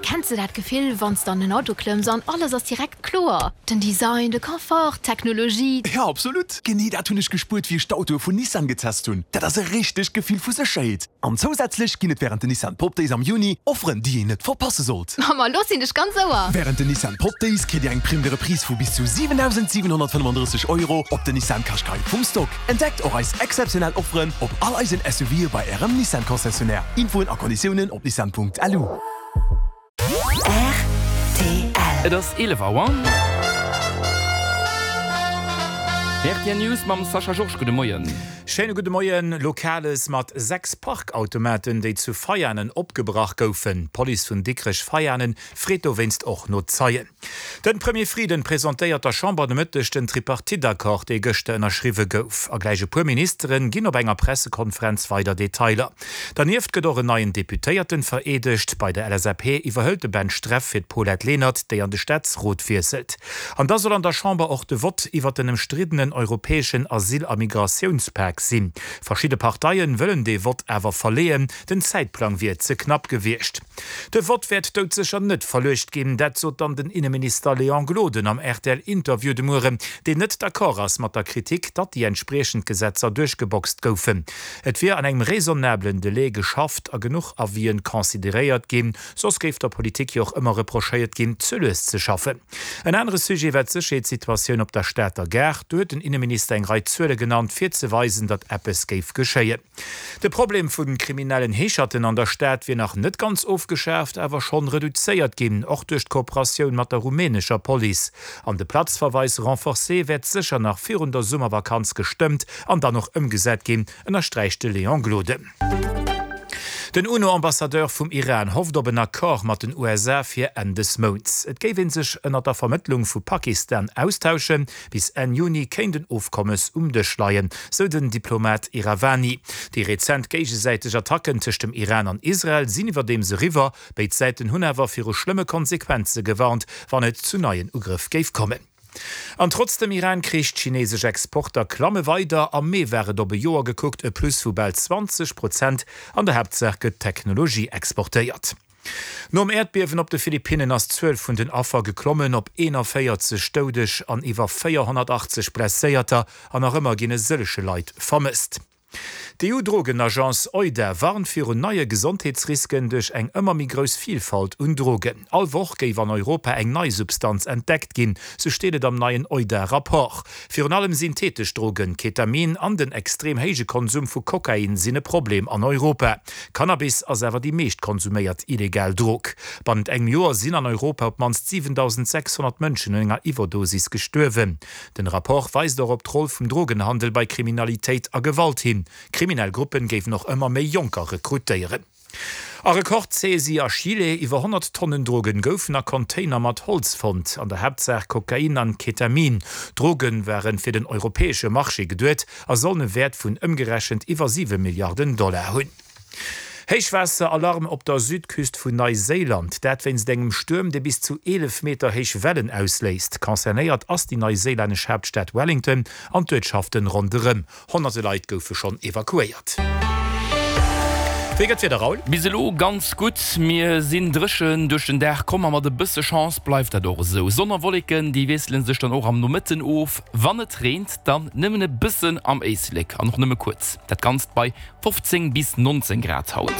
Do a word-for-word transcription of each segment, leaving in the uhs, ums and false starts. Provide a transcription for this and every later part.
Kenns de dat Gefill, wann s de an den Auto klëmms an alles ass direkt kloer? Den Design, de Confort, d'Technologie. Jo, absolut! Genee dat hunn ech gespuert, wéi ech d'Autoe vun Nissan getest hunn. Dat ass e richtegt Gefill vu Sécherheet. An zousätzlech ginn et wärend den Nissan Pop Days am Juni Offeren, déi een net verpasse sollt. Ma lo sinn ech ganz ouer! Wärend den Nissan Pop Days kritt Dir eng Prime de Reprise vu bis zu siwendausendsiwenhonnertfënnefandrësseg Euro op den Nissan Qashqai vum Stock. Entdeckt och eis exzeptionell Offeren op all eisen SUVe bei Ärem Nissan Concessionnaire. Infoen a Konditiounen op nissan.lu. Rtl. Et ass eelef Auer. Rtl News mam Sascha Georges. Gudde Moien. Schéine gudde Moien. Lokales mat sechs Parkautomaten, déi zu Veianen opgebrach goufen. D'Police vun Dikrech-Veianen freet dowéinst och no Zeien. Den Premier Frieden presentéiert der Chamber de Mëtteg den Tripartite-Accord, dee gëschter ënnerschriwwe gouf. A gläich e puer Ministeren ginn op enger Pressekonferenz weider Detailer. Dernieft gëtt och en neien Deputéierten vereedegt. Bei der L S A P iwwerhëlt de Ben Streff fir d'Paulette Lenert, déi an de Staatsrot wiesselt. An da soll an der Chamber och de Vott iwwer den ëmstriddenen europäeschen Asyl a Migratiounspak sinn. Verschidde Parteien wëllen dee Vott awer verleeën, den Zäitplang wier ze knapp gewiescht. De Vott wäert doudsécher net verluecht ginn, dat sot dann den Inneminister Léon Gloden am R T L-Interview de Mueren, deen net d'accord ass mat der Kritik, datt déi entspriechend Gesetzer duerchgeboxt goufen. Et wier an engem raisonnablen Delai geschafft a genuch Avisen consideréiert ginn, soss géif der Politik jo och ëmmer reprochéiert ginn, ze lues ze schaffen. En anere Sujet war d'Sécherheetssituatioun op der Stater Gare. Do huet den Inneminister eng Rei Zuele genannt, fir ze weisen, datt eppes géif geschéien. De Problem vu kriminellen Heescherten an der Stad wier nach net ganz ofgeschaaft, awer schonn reduzéiert ginn, och duerch d'Kooperatioun mat der rumänescher Police. An de Platzverweis renforcé wäert sécher nach virun der Summervakanz gestëmmt an dann och ëmgesat ginn, ënnersträicht de Léon Gloden. Den U N O-Ambassadeur vum Iran hofft op en Accord mat den U S A fir Enn des Mounts. Et géif ee sech ënner der Vermëttlung vu Pakistan austauschen, bis Enn Juni kéint en Ofkommes um Dësch leien, sou den Diplomat Iravani. Déi rezent géigesäiteg Attacken tëscht dem Iran an Israel sinn iwwerdeems eriwwer, béid Säiten hunn awer viru schlëmme Konsequenze gewarnt, wann et zu neien Ugrëff géif kommen. An trotz dem Iran-Krich, d'chineesesch Exporter klamme weider, am Mee war et op e Joer gekuckt e Plus vu bal zwanzeg Prozent, an der Haaptsaach gëtt Technologie exportéiert. Nom Äerdbiewen op de Philippinnen ass d'Zuel vun den Affer geklommen op eenanvéierzeg Doudeg an iwwer véierhonnertachtzeg Blesséierter an nach ëmmer ginn e sëllege Leit vermësst. D'E U-Drogenagence EUDA warnt virun neie Gesondheetsrisken duerch eng ëmmer méi grouss Vilfalt un Drogen. All Woch géif an Europa eng nei Substanz entdeckt ginn, sou steet et am neien EUDA-Rapport. Virun allem syntheetesch Drogen, Ketamin an den extrem héije Konsum vu Kokain sinn e Problem an Europa. Cannabis ass awer déi meescht konsuméiert illegal Drog. Bannent engem Joer sinn an Europa op d'mannst siwentausendséchshonnert Mënschen un enger Iwwerdosis gestuerwen. Den Rapport weist och op d'Roll vum Drogenhandel bei Kriminalitéit a Gewalt hin. Kriminell Gruppen géifen och ëmmer méi Jonker rekrutéieren. A Rekord-Saisie a Chile, Iwwer honnert Tonnen Drogen goufen a Container mat Holz fonnt, an der Haaptsaach Kokain an Ketamin. D'Droge ware fir den europäesche Marché geduet a sollen e Wäert vun ëmgerechent iwwer siwe Milliarden Dollar hunn. Héichwaasser-Alarm op der Südküst vun Neiséiland, dat wéinst engem Stuerm, dee bis zu eelef Meter héich Wellen ausléist. Concernéiert ass déi neiséilännesch Haaptstad Wellington an d'Uertschaften ronderëm. Honnerte Leit goufe schonn evakuéiert. Wéi gëtt d'Wieder, Raoul? Bis elo ganz gutt, mir sinn dréchen duerch den Dag komm a mat e bësse Chance bleift dat och esou. Sonn a Wolleken, déi wiessele sech dann och am Nomëtten of. Wann et reent, dann nëmmen e bëssen am Éislek an och nëmme kuerz. Dat Ganzt bei fofzéng bis nonzéng Grad haut.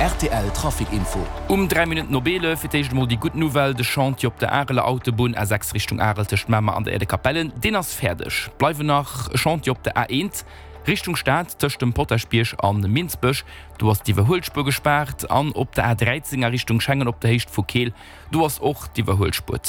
R T L Trafic Info. Um dräi Minutten op eelef fir d'éischt emol déi gutt Nouvelle, De Chantier op der Areler Autobunn A sechs Richtung Arel tëscht Mamer an der Aire de Capellen, deen ass fäerdeg. Bleiwen nach e Chantier op der A eent Richtung Stad tëscht dem Potaschbierg a Minsbech, do ass d'Iwwerhuelspuer gespaart, an op der A dräizéng a Richtung Schengen op der Héicht vu Keel, do ass och d'Iwwerhuelspuer